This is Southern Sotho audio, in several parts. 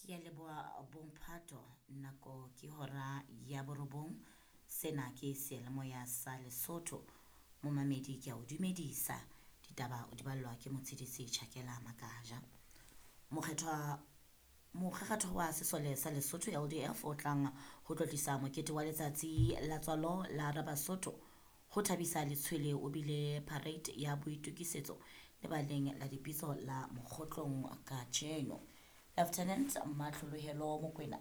Ke a leboha bomphato nako ke hora ya borobong. Sena ke seyalemoya sa Lesotho. Momamedi ke a o dumedisa. Ditaba o di ballwa ke Motshidisi Tjhakela Makaja. Mokgethwa Mokgekgetho wa sesole sa Lesotho LDF o tlang ho tlotlisa mokete wa letsatsi la tswalo la Rabasotho ho thabisa letshwele o bile parade ya boitokisetso lebaleng la dipitso la Mokgotlong kajeno. Lieutenant Matlholohelo Mokwena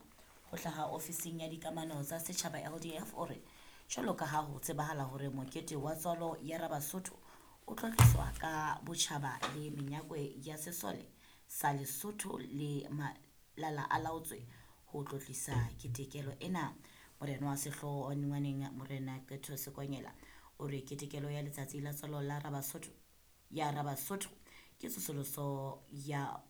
ho hlaha ofising ya dikamano tsa setjhaba LDF o re jwalo ka ha ho tsebahala hore mokete wa tswalo ya Rabasotho o tlotliswa ka botjhaba le menyakwe ya sesole sa Lesotho le malala a laotswe ho tlotlisa ketekelo ena. Morena wa sehlooho wa Nngwaneng Morena Qetho Sekonyela o re ketekelo ya letsatsi la tswalo la Rabasotho ya Rabasotho ke tsosoloso ya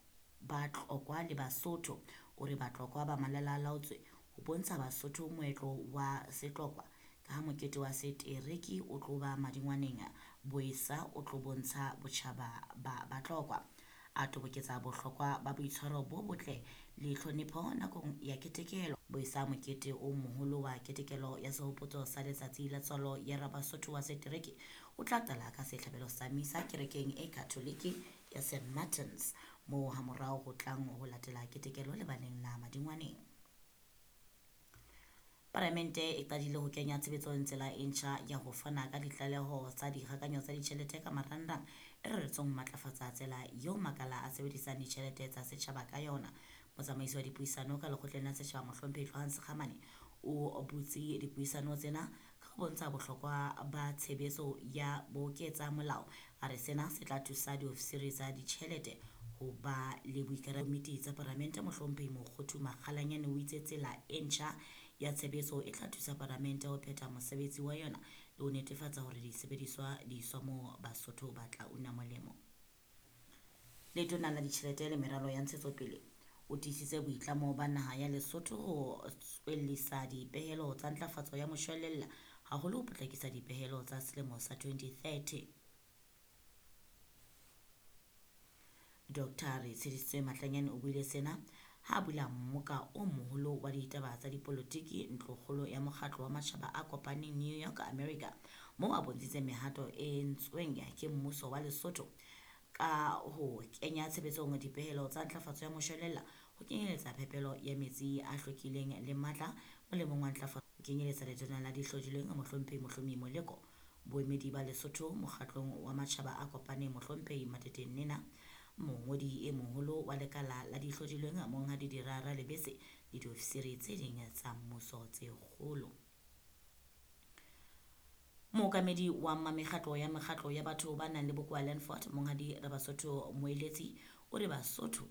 Batlokwa le Basotho. O re Batlokwa ba malala a laotswe ho bontsha Basotho moetlo wa Setlokwa ka ha mokete wa setereke o tlo ba madingwaneng Boesa o tlo bontsha botjhaba ba Batlokwa. A toboketsa bohlokwa ba boitshwaro bo botle le tlhonepho nakong ya ketekelo. Boesa mokete o moholo wa ketekelo ya sehopotso sa letsatsi la tswalo ya Rabasotho wa setereke o tla qala ka sehlabelo sa misa kerekeng e Katholike ya St Martins moo hamorao ho tlang ho latela ketekelo lebaleng la Madingwaneng. Palamente e qadile ho kenya tshebetsong tsela e ntjha ya ho fana ka ditlaleho tsa dikgakanyo tsa ditjhelete ka marangrang e reretsweng ho matlafatsa tsela eo makala a sebedisang ditjhelete tsa setjhaba ka yona. Motsamaisi wa dipuisano ka lekgotleng la setjhaba Mohlomphehi Tlohang Sekgamane o butse dipuisano tsena ka ho bontsha bohlokwa ba tshebetso ya boketsa molao. A re sena se tla thusa diofisiri tsa ditjhelete ho ba le boikarabelo. Komiti tsa Palamente Mohlomphehi Mokgothu Makgalanyane o itse tsela e ntjha ya tshebetso e tla thusa Palamente ho phetha mosebetsi wa yona le ho netefatsa hore disebediswa di iswa moo Basotho ba tla una molemo. Letona la ditjhelete le meralo ya ntshetsopele o tiisitse boitlamo ba naha ya Lesotho ho tswellisa dipehelo tsa ntlafatso ya moshwelella haholo ho potlakisa dipehelo tsa selemo sa 2030. Dr. Retshedisitswe Matlanyane o buile sena ha a bula mmoka o moholo wa ditaba tsa dipolotiki ntlokgolo ya mokgatlo wa matjhaba a kopaneng New York, America, moo a bontshitseng mehato e entsweng ke mmuso wa Lesotho ka ho kenya tshebetsong dipehelo tsa ntlafatso ya moshwelella ho kenyeletsa phepelo ya metsi a hlwekileng le matla molemong wa ntlafatso ho kenyeletsa letona la dihlodilweng Mohlomphehi Mohlomi Moleko, boemedi ba Lesotho mokgatlong wa matjhaba a kopaneng Mohlomphehi Matete Nena, mongodi e moholo wa lekala la dihlodilweng Monghadi Dirara Lebese le diofisiri tse ding tsa mmuso tse kgolo. Mookamedi wa mekgatlo ya mekgatlo ya batho ba nang le bokowa Landford Monghadi Rabasotho Moeletsi o re Basotho